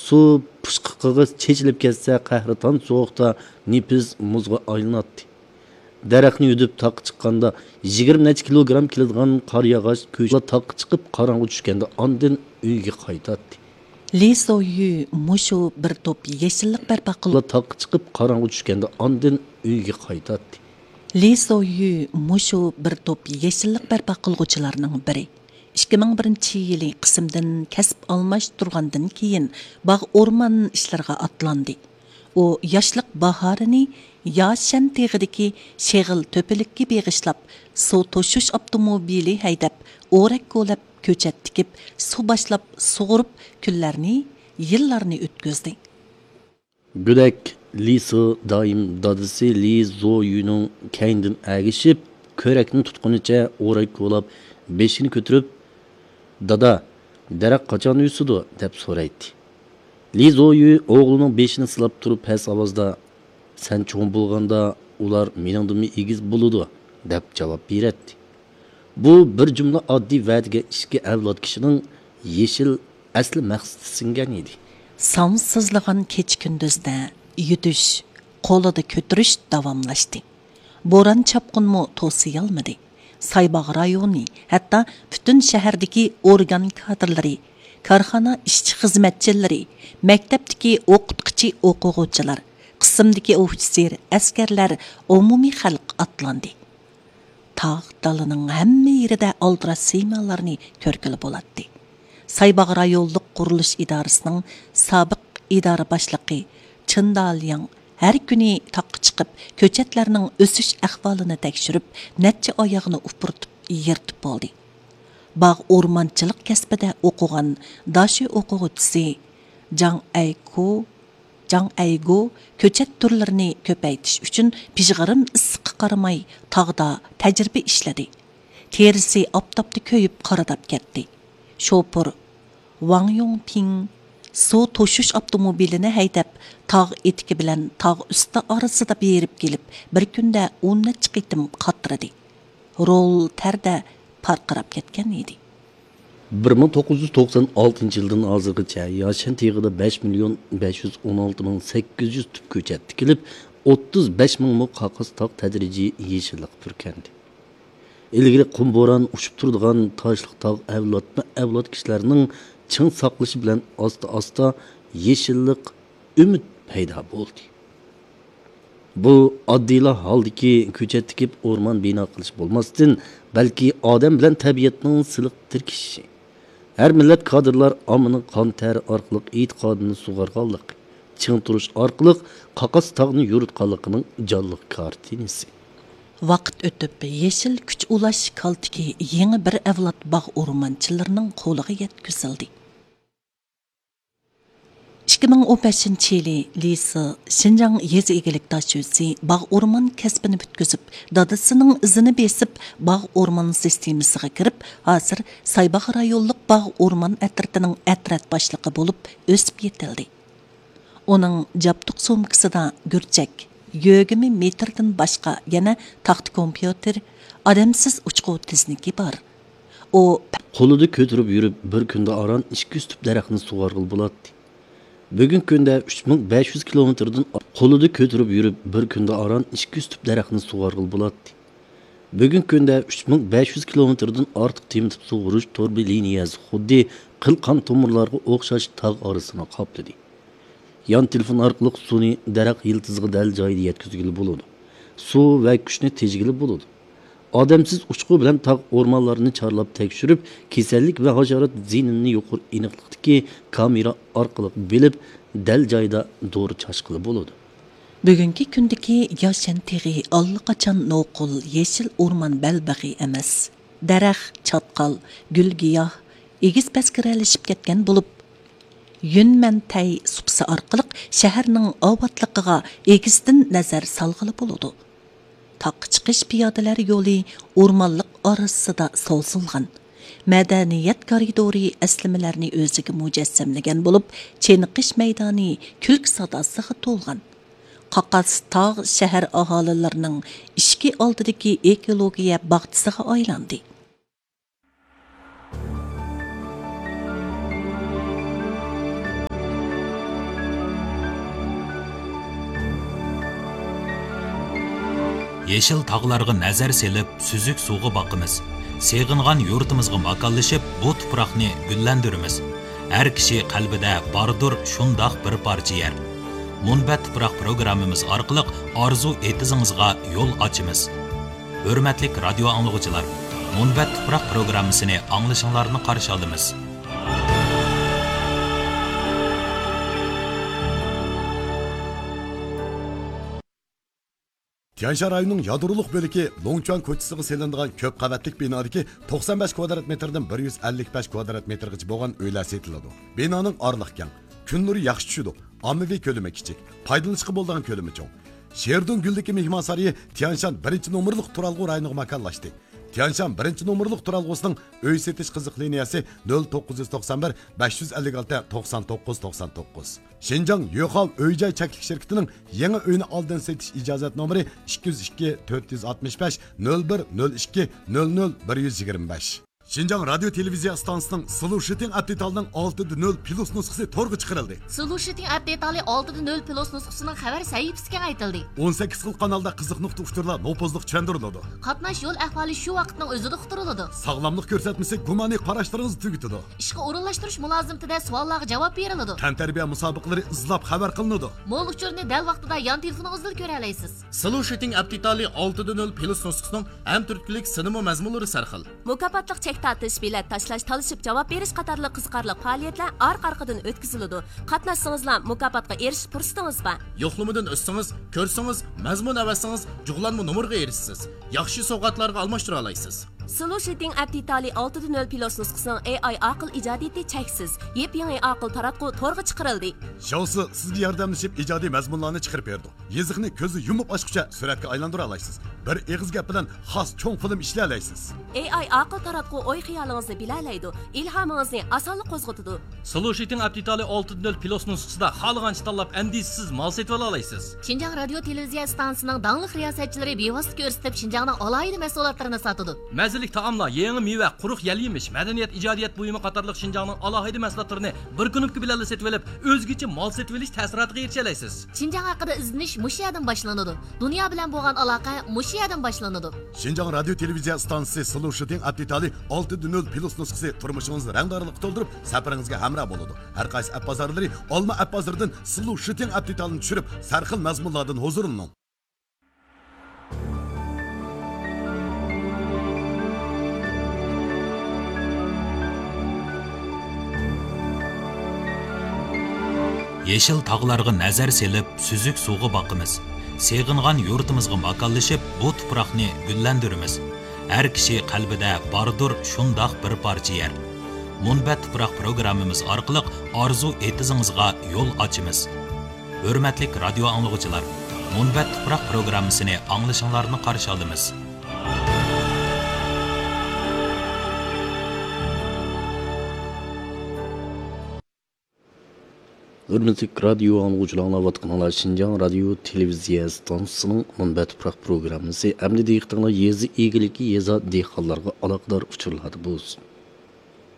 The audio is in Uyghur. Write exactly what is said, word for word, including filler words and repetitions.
سۇ پۇچقىقىغا چېچىلىپ كەتسە، قەھرىتان سوغۇقتا نېپىز مۇزغا ئايلىناتتى. دەرەخنى يۈدۈپ تاغقا چىققاندا، يىگىرمە نەچچە كىلوگرام كېلىدىغان قار ياغاچ كۆچۈپ تاغقا چىقىپ، قاراڭغۇ چۈشكەندە ئاندىن ئۆيگە قايتاتتى. لى زويۈ مۇشۇ بىر توپ يېشىللىق بەرپا قىل- تاغقا چىقىپ، قاراڭغۇ چۈشكەندە ئاندىن ئۆيگە قايتاتتى. لى زويۈ مۇشۇ بىر توپ يېشىللىق بەرپا قىلغۇچىلارنىڭ بىرى. ئىككى مىڭ بىرىنچى يىلى قىسىمدىن كەسىپ ئالماشتۇرغاندىن كېيىن، باغ ئورمان ئىشلىرىغا ئاتلاندى. ئۇ ياشلىق باھارىنى ياشەن تېغىدىكى شېغىل تۆپىلىككە بېغىشلاپ، سۇ توشۇش ئاپتوموبىلى ھەيدەپ، ئورەك كولاپ، كۆچەت تىكىپ، سۇ باشلاپ سۇغۇرۇپ، كۈنلەرنى، يىللارنى ئۆتكۈزدى. گۆدەك لىسى دائىم دادىسى لى زويۈنىڭ كەينىدىن ئەگىشىپ، كۆرەكنى تۇتقىنىچە ئورەك كولاپ، بېشىنى كۆتۈرۈپ، «دادا، دەرەخ قاچان ئۆسىدۇ؟» دەپ سورايتتى. لى زويۈ ئوغلىنىڭ بېشىنى سىلاپ تۇرۇپ پەس ئاۋازدا، «سەن چوڭ بولغاندا ئۇلار مېنىڭدىنمۇ ئېگىز بولىدۇ» دەپ جاۋاب بېرەتتى. بۇ بىر جۈملە ئاددىي ۋەدىگە ئىچكى ئەۋلاد كىشىنىڭ يېشىل ئەسلى مەقسىتى سىڭگەن ئىدى. سانسىزلىغان كېچە-كۈندۈزدە يۈدۈش، قولىدا كۆتۈرۈش داۋاملاشتى. بوران-چاپقۇنمۇ توسىيالمىدى. سايباغ رايونى، ھەتتا پۈتۈن شەھەردىكى ئورگان كادىرلىرى، كارخانا ئىشچى-خىزمەتچىلىرى، مەكتەپتىكى ئوقۇتقۇچى-ئوقۇغۇچىلار، قىسىمدىكى ئوفىتسېر، ئەسكەرلەر، ئومۇمىي خەلق ئاتلاندى. تاغ دالىنىڭ ھەممە يېرىدە ئالدىراش سىيمالارنى كۆرگىلى بولاتتى. سايباغ رايونلۇق قۇرۇلۇش ئىدارىسىنىڭ سابىق ئىدارە باشلىقى چېن دالياڭ ھەر كۈنى تاغقا چىقىپ، كۆچەتلەرنىڭ ئۆسۈش ئەھۋالىنى تەكشۈرۈپ، نەچچە ئاياغنى ئۇپرىتىپ يىرتىپ بولدى. باغ ئورمانچىلىق كەسپىدە ئوقۇغان داشۆ ئوقۇغۇچىسى جاڭ ئەيكۇ، جاڭ ئەيگۇ كۆچەت تۈرلىرىنى كۆپەيتىش ئۈچۈن پىژغىرىم ئىسسىققا قارىماي تاغدا تەجرىبە ئىشلىدى. تېرىسى ئاپتاپتا كۆيۈپ قارىداپ كەتتى. شوپۇر ۋاڭ يوڭپىڭ سۇ توشۇش ئاپتوموبىلىنى ھەيدەپ، تاغ ئېتىكى بىلەن تاغ ئۈستى ئارىسىدا بېرىپ كېلىپ، بىر كۈندە ئون نەچچە قېتىم قاترىدى. رول تەردە پارقىراپ كەتكەن ئىدى. بىر مىڭ توققۇز يۈز توقسان ئالتىنچى يىلدىن ھازىرغىچە ياشەن تېغىدا بەش مىليون بەش يۈز ئون ئالتە مىڭ سەككىز يۈز تۈپ كۆچەت تىكىلىپ، ئوتتۇز بەش مىڭ مو قاقاس تاغ تەدرىجىي يېشىللىققا پۈركەندى. ئىلگىرى قۇم بوران ئۇچۇپ تۇرىدىغان تاشلىق تاغ ئەۋلادمۇ ئەۋلاد كىشىلەرنىڭ چىڭ ساقلىشى بىلەن ئاستا-ئاستا يېشىللىق ئۈمىد پەيدا بولدى. بۇ ئاددىيلا ھالدىكى كۆچەت تىكىپ ئورمان بىنا قىلىش بولماستىن، بەلكى ئادەم بىلەن تەبىئەتنىڭ سىلىق تىركىشىشى. ھەر مىللەت كادىرلار ئاممىنىڭ قان تەر ئارقىلىق ئېتىقادىنى سۇغارغانلىقى، چىڭ تۇرۇش ئارقىلىق قاقاس تاغنى يورۇتقانلىقىنىڭ جانلىق كارتىنىسى. ۋاقىت ئۆتۈپ، يېشىل كۈچ ئۇلاش كالتىكى يېڭى بىر ئەۋلاد باغ ئورمانچىلىرىنىڭ قولىغا يەتكۈزۈلدى. ئىككى مىڭ ئون بەشىنچى يىلى لىسى شىنجاڭ يېزا ئىگىلىك داشۆسى باغ ئورمان كەسپىنى پۈتكۈزۈپ، دادىسىنىڭ ئىزىنى بېسىپ، باغ ئورمان سىستېمىسىغا كىرىپ، ھازىر سايباغ رايونلۇق باغ ئورمان ئەترىتىنىڭ ئەترەت باشلىقى بولۇپ ئۆسۈپ يېتىلدى. ئۇنىڭ جابدۇق سومكىسىدا گۈرچەك، يۆگىمە مېتىردىن باشقا يەنە تاختا كومپيۇتېر، ئادەمسىز ئۇچقۇ تىزنىكى بار. ئۇ قولىدا كۆتۈرۈپ يۈرۈپ، بىر كۈندە ئاران ئىككى يۈز تۈپ دەرەخنى سۇغارغىلى بولاتتى. بۈگۈنكى كۈندە ئۈچ مىڭ بەش يۈز كىلومېتىردىن، قولىدا كۆتۈرۈپ يۈرۈپ، بىر كۈندە ئاران ئىككى يۈز تۈپ دەرەخنى سۇغارغىلى بولاتتى. بۈگۈنكى كۈندە ئۈچ مىڭ بەش يۈز كىلومېتىردىن ئارتۇق تېمىتىپ سۇغۇرۇش توربا لىنىيەسى خۇددى قىل قان تومۇرلارغا ئوخشاش تاغ ئارىسىنى قاپلىدى. يان تېلېفون ئارقىلىق سۇنى دەرەخ يىلتىزىغا دەل جايىدا يەتكۈزگىلى بولىدۇ. سۇ ۋە كۈچنى تېجىگىلى بولىدۇ. ئادەمسىز ئۇچقۇ بىلەن تاغ ئورمانلارنى چارلاپ تەكشۈرۈپ، كېسەللىك ۋە ھاشارات زىيىنىنى يۇقىرى ئېنىقلىقتىكى كامېرا ئارقىلىق بىلىپ، دەل جايىدا دورا چاچقىلى بولىدۇ. بۈگۈنكى كۈندىكى ياشەن تېغى ئاللىقاچان نوقۇل يېشىل ئورمان بەلبېغى ئەمەس. دەرەخ، چاتقال، گۈل-گىياھ ئېگىز-پەسكىرەلىشىپ كەتكەن بولۇپ، يۈنمەنتەي سۇپىسى ئارقىلىق شەھەرنىڭ ئاۋاتلىقىغا ئېگىزدىن نەزەر سالغىلى بولىدۇ. تاغقا چىقىش پىيادىلەر يولى ئورمانلىق ئارىسىدا سوزۇلغان. مەدەنىيەت كارىدورى ئەسلىمىلەرنى ئۆزىگە مۇجەسسەملىگەن بولۇپ، چېنىقىش مەيدانى كۈلكە ساداسىغا تولغان. قاقاس تاغ شەھەر ئاھالىلىرىنىڭ ئىشىكى ئالدىدىكى ئېكولوگىيە باغچىسىغا ئايلاندى. يېشىل تاغلارغا نەزەر سېلىپ، سۈزۈك سۇغا باقىمىز. سېغىنغان يۇرتىمىزغا ماكانلىشىپ، بۇ تۇپراقنى گۈللەندۈرىمىز. ھەر كىشى قەلبىدە باردۇر شۇنداق بىر پارچە يەر. مۇنبەت تۇپراق پروگراممىمىز ئارقىلىق ئارزۇ ئېتىزىڭىزغا يول ئاچىمىز. ھۆرمەتلىك رادىيو ئاڭلىغۇچىلار، مۇنبەت تۇپراق پروگراممىسىنى ئاڭلىشىڭلارنى قارشى ئالىمىز. تيەنشان رايونىنىڭ يادرولۇق بۆلىكى لوڭچۈەن كوچىسىغا سېلىنىدىغان كۆپ قەۋەتلىك بىنادىكى توقسان بەش كۋادرات مېتىردىن بىر يۈز ئەللىك بەش كۋادرات مېتىرغىچە بولغان ئۆيلەر سېتىلىدۇ. بىنانىڭ ئارىلىقى كەڭ، كۈن نۇرى ياخشى چۈشىدۇ، ئاممىۋى كۆلىمى كىچىك، پايدىلىنىشقا بولىدىغان كۆلىمى چوڭ. شېردۇڭ گۈلدىكى مېھمانسارىيى تيەنشان بىرىنچى نومۇرلۇق تۇرالغۇ رايونىغا ماكانلاشتى. تيەنشان بىرىنچى نومۇرلۇق تۇرالغۇسىنىڭ ئۆي سېتىش قىزىق لىنىيەسى نۆل توققۇز يۈز توقسان بىر، بەش يۈز ئەللىك ئالتە، توقسان توققۇز، توقسان توققۇز. شىنجاڭ يۆخاۋ ئۆي جاي چەكلىك شىركىتىنىڭ يېڭى ئۆينى ئالدىن سېتىش ئىجازەت نومۇرى ئىككى يۈز ئىككى، تۆت يۈز ئاتمىش بەش، نۆل بىر، نۆل ئىككى، نۆل نۆل، بىر يۈز يىگىرمە بەش. شىنجاڭ رادىيو تېلېۋىزىيە ئىستانسىسىنىڭ سلۇشىتىڭ ئەپ دېتالىنىڭ ئالتە دە نۆل پلۇس نۇسخىسى تورغا چىقىرىلدى. سلۇشىتىڭ ئەپ دېتالى ئالتە دە نۆل پلۇس نۇسخىسىنىڭ خەۋەر سەھىپىسى كېڭەيتىلدى. ئون سەككىز خىل قانالدا قىزىق نۇقتا ئۇچۇرلار نوپۇزلۇق چۈشەندۈرۈلىدۇ. قاتناش يول ئەھۋالى شۇ ۋاقىتنىڭ ئۆزىدە ئۇقتۇرۇلىدۇ. ساغلاملىق كۆرسەتمىسى گۇمانىي قاراشلىرىڭىزنى تۈگىتىدۇ. ئىشقا ئورۇنلاشتۇرۇش مۇلازىمىتىدە سوئاللارغا جاۋاب بېرىلىدۇ. تەنتەربىيە مۇسابىقىلىرى ئىزلاپ خەۋەر قىلىنىدۇ. مول ئۇچۇرنى دەل ۋاقتىدا يان تېلېفونىڭىزدىلا كۆرەلەيسىز. سلۇشىتىڭ ئەپ دېتالى ئالتە دە نۆل پلۇس نۇسخىسىنىڭ ھەمتۈرتكىلىك سىنىما مەزمۇنلىرى سەرخىل. مۇكاپاتلىق چەك تارتىش، بېلەت تاشلاش، تالىشىپ جاۋاب بېرىش قاتارلىق قىزىقارلىق پائالىيەتلەر ئارقا-ئارقىدىن ئۆتكۈزۈلىدۇ. قاتناشسىڭىزلا مۇكاپاتقا ئېرىشىش پۇرسىتىڭىز بار. يوقلىمىدىن ئۆتسىڭىز، كۆرسىڭىز، مەزمۇن ئەۋەتسىڭىز، جۇغلانما نومۇرغا ئېرىشىسىز. ياخشى سوۋغاتلارغا ئالماشتۇرالايسىز. سلۇشىتىڭ ئەپ دېتالى ئالتە دە نۆل پلۇس نۇسخىسىنىڭ ئېي ئاي ئاقىل ئىجادىيىتى چەكسىز. يېپيېڭى ئاقىل تاراتقۇ تورغا چىقىرىلدى. شياۋسى سىزگە ياردەملىشىپ ئىجادىي مەزمۇنلارنى چىقىرىپ بېرىدۇ. يېزىقنى كۆزنى يۇمۇپ ئاچقۇچە سۈرەتكە ئايلاندۇرالايسىز. بىر ئېغىز گەپ بىلەن خاس چوڭ فىلىم ئىشلىيەلەيسىز. ئېي ئاي ئاقىل تاراتقۇ ئوي-خىيالىڭىزنى بىلەلەيدۇ، ئىلھامىڭىزنى ئاسانلا قوزغىتىدۇ. سلۇشىتىڭ ئەپ دېتالى ئالتە دە نۆل پلۇس نۇسخىسىدا خالىغانچە تاللاپ ئەندىشىسىز مال سېتىۋالالايسىز. شىنجاڭ رادىيو تېلېۋىزىيە ئىستانسىسىنىڭ داڭلىق رىياسەتچىلىرى بىۋاسىتە كۆرسىتىپ شىنجاڭنىڭ ئالاھىدە مەھسۇلاتلىرىنى ساتىدۇ. مەززىلىك تائاملار، يېڭى مېۋە، قۇرۇق يەل-يېمىش، مەدەنىيەت، ئىجادىيەت بۇيۇمى قاتارلىق شىنجاڭنىڭ ئالاھىدە مەھسۇلاتلىرىنى بىر كۇنۇپكا بىلەنلا سېتىۋېلىپ، ئۆزگىچە مال سېتىۋېلىش تەسىراتىغا ئېرىشەلەيسىز. شىنجاڭ ھەققىدە ئىزدىنىش مۇشۇ يەردىن باشلىنىدۇ. دۇنيا بىلەن بولغان ئالاقە مۇشۇ يەردىن باشلىنىدۇ. شىنجاڭ رادىيو تېلېۋىزىيە ئىستانسىسى سلۇشىتىڭ ئەپ دېتالى ئالتە دە نۆل پلۇس نۇسخىسى تۇرمۇشىڭىزنى رەڭدارلىققا تولدۇرۇپ، سەپىرىڭىزگە ھەمراھ بولىدۇ. ھەر قايسى ئەپ بازارلىرى ئالما ئەپ بازىرىدىن سلۇشىتىڭ ئەپ دېتالىنى چۈشۈرۈپ، سەرخىل مەزمۇنلاردىن ھۇزۇرلىنىڭ. يېشىل تاغلارغا نەزەر سېلىپ، سۈزۈك سۇغا باقىمىز. سېغىنغان يۇرتىمىزغا ماكانلىشىپ، بۇ تۇپراقنى گۈللەندۈرىمىز. ھەر كىشى قەلبىدە باردۇر شۇنداق بىر پارچە يەر. مۇنبەت تۇپراق پروگراممىمىز ئارقىلىق ئارزۇ ئېتىزىڭىزغا يول ئاچىمىز. ھۆرمەتلىك رادىيو ئاڭلىغۇچىلار، مۇنبەت تۇپراق پروگراممىسىنى ئاڭلىشىڭلارنى قارشى ئالىمىز. ھۆرمەتلىك رادىيو ئاڭلىغۇچىلار، ئاڭلاۋاتقىنىڭلار شىنجاڭ رادىيو تېلېۋىزىيە ئىستانسىسىنىڭ مۇنبەت تۇپراق پروگراممىسى. ئەمدى دىققىتىڭلار يېزا ئىگىلىكى، يېزا دېھقانلارغا ئالاقىدار ئۇچۇرلاردا بولسۇن.